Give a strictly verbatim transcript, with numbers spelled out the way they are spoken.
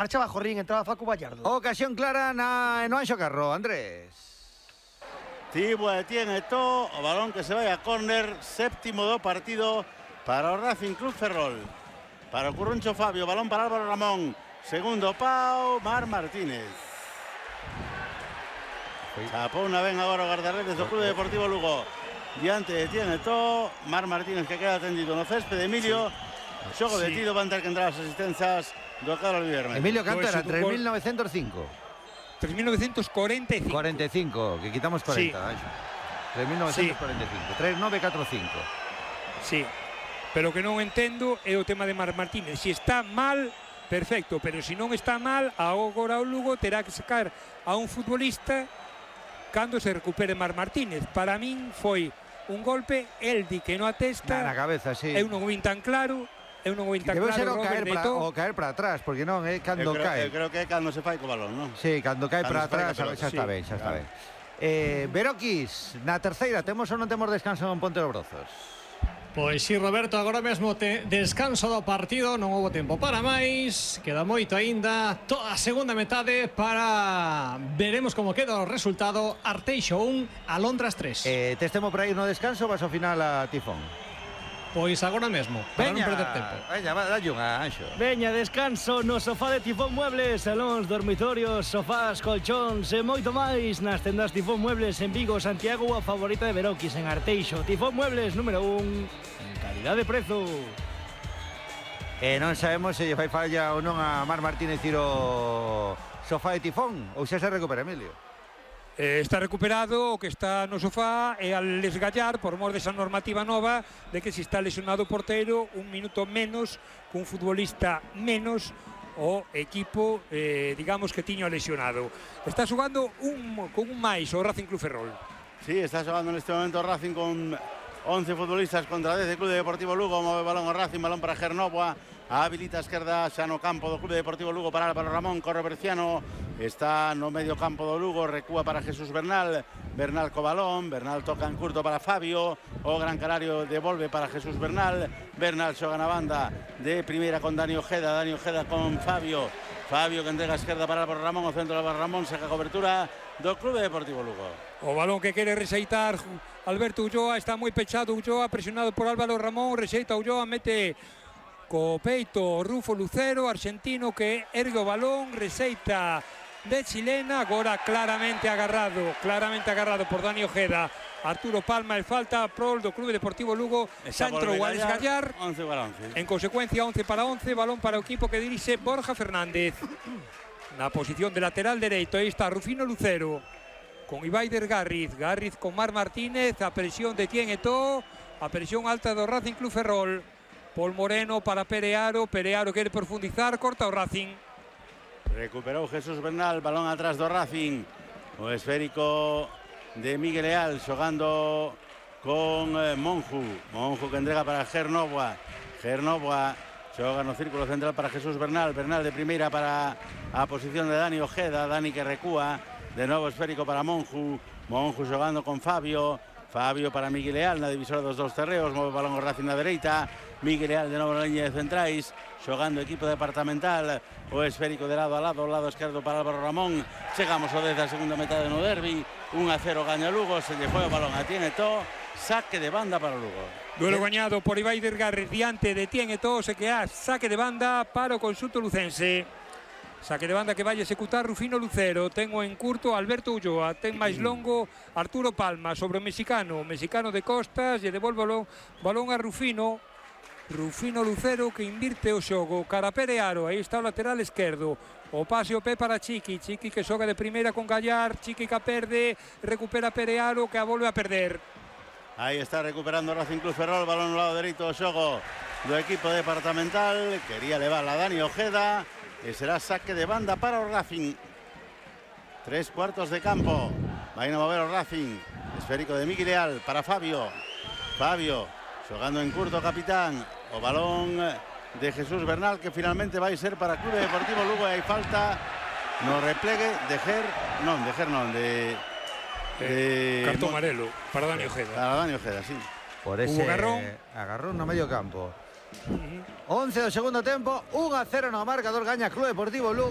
Marchaba Jorrín, entraba Facu Vallardo. Ocasión clara na, no Anxo Carro, Andrés. Tibua tiene todo, o balón que se vai a córner, séptimo do partido para o Racing Club Ferrol. Para o Curruncho Fabio, balón para Álvaro Ramón. Segundo pau, Mar Martínez. Chapou unha ben agora o guardaredes do Club Deportivo Lugo. Diante de tiene todo, Mar Martínez que queda tendido no céspede. Emilio, xogo sí. detido, van ter que entrar as asistenzas do Carlos Viernes. Emilio Cantera, Pues, tres mil novecientos cinco. tres mil novecientos cuarenta y cinco. cuarenta y cinco, que quitamos cuarenta. Sí. tres mil novecientos cuarenta y cinco. Sí. tres mil novecientos cuarenta y cinco. Sí, pero que non entendo é o tema de Mar Martínez. Si está mal, perfecto, pero se non está mal, agora o Lugo terá que sacar a un futbolista cando se recupere Mar Martínez. Para min foi un golpe, el di que non atesta. Na cabeza, sí. Eu non o vin tan claro. Eu non o vin tan Debe claro, ser o Robert caer, para, Neto. o caer para atrás, porque non é cando eu creo, cae. Eu creo que é cando se fai co balón, non? Sí, cando cae Cando para se fai atrás, co pelota. xa está Sí, ben, xa está claro. ben. Eh, Veroquis, na terceira, temos ou non temos descanso en Ponte dos Brozos? Pois si, Roberto, agora mesmo te descanso do partido, non houve tempo para máis, queda moito aínda, toda a segunda metade para veremos como queda o resultado. Arteixo un, Alondras tres. Eh, tes tempo para ir no descanso, vas ao final a Tifón. Pois agora mesmo, para non perder tempo. Veña, va, dalle unha, Anxo. Veña, descanso no sofá de Tifón Muebles, salóns, dormitorios, sofás, colchóns e moito máis nas tendas Tifón Muebles en Vigo, Santiago, a favorita de Veroquis en Arteixo. Tifón Muebles número un en calidad de prezo. E non sabemos se lle fai falla ou non a Mar Martínez ir o sofá de Tifón, ou xa se recupera, Emilio. Eh, está recuperado, o que está no sofá é al esgallar por mor desa normativa nova de que se está lesionado o porteiro un minuto menos cun futbolista menos o equipo, eh, digamos, que tiño lesionado. Está xogando un, con un máis o Racing Club Ferrol. Sí, está xogando neste momento Racing con once futbolistas contra dez do Club Deportivo Lugo. Move balón o Racing, balón para Gernoboa. Habilita a esquerda xa no campo do Club Deportivo Lugo para Álvaro Ramón. Corre Berciano, está no medio campo do Lugo, recúa para Jesús Bernal. Bernal co balón, Bernal toca en curto para Fabio. O Gran Canario devolve para Jesús Bernal. Bernal xoga na banda de primeira con Dani Ojeda. Dani Ojeda con Fabio. Fabio que entrega a esquerda para Álvaro Ramón. O centro de Álvaro Ramón, saca cobertura do Club Deportivo Lugo. O balón que quere rexeitar Alberto Ulloa, está moi pechado Ulloa, presionado por Álvaro Ramón, rexeita Ulloa, mete co peito Rufo Lucero, argentino, que ergue o balón, rexeita de chilena, agora claramente agarrado, claramente agarrado por Dani Ojeda. Arturo Palma, el falta prol do Clube Deportivo Lugo, xa entrou a desgallar. once para once. En consecuencia, once para once, balón para o equipo que dirixe Borja Fernández. Na posición de lateral dereito, aí está Rufino Lucero con Ibaider Garriz, Garriz con Mar Martínez, a presión de Tien Eto'o, a presión alta do Racing Club Ferrol. Paul Moreno para Perearo, Perearo quere profundizar, corta o Racing. Recuperou Jesús Bernal, balón atrás do Racing. O esférico de Miguel Leal xogando con eh, Monju. Monju que entrega para Gernoboa. Gernoboa xoga no círculo central para Jesús Bernal. Bernal de primeira para a posición de Dani Ojeda. Dani que recúa. De novo esférico para Monju. Monju xogando con Fabio. Fabio para Miguel Leal na divisora dos dous terreos. Move o balón o Racing na dereita. Miguel Leal de novo na liña de centrais. Xogando equipo departamental. O esférico de lado a lado. O lado esquerdo para Álvaro Ramón. Chegamos ao dez da segunda metade no derbi. un a cero gaña Lugo. Se lle foi o balón a Tien Eto'o. Saque de banda para o Lugo. Duelo gañado por Ibaider Garriz diante de Tien Eto'o. Se queda saque de banda para o conxunto lucense. Saque de banda que vai executar Rufino Lucero. Tengo en curto Alberto Ulloa. Ten máis longo Arturo Palma sobre o mexicano. Mexicano de costas e devolve o balón a Rufino. Rufino Lucero que invirte o xogo. Cara Perearo, aí está o lateral esquerdo. O pase o pé para Chiqui. Chiqui que xoga de primeira con Gallar. Chiqui que a perde. Recupera Perearo que a volve a perder. Aí está recuperando o Racing Club Ferrol. Balón no lado dereito do xogo do equipo departamental. Quería levar a Dani Ojeda. E será saque de banda para o Racing. Tres cuartos de campo. Vai a mover o Racing. Esférico de Miguel Leal para Fabio. Fabio xogando en curto, capitán. O balón de Jesús Bernal que finalmente vai ser para Clube Deportivo Lugo. E hai falta no replegue de Ger... Non, de Ger non, de... Eh, de... Cartón amarelo para Dani Ojeda. Para Dani Ojeda, sí. Por ese agarrón, agarrón no medio campo. once do segundo tempo, un a cero no marcador, gaña Club Deportivo Lugo.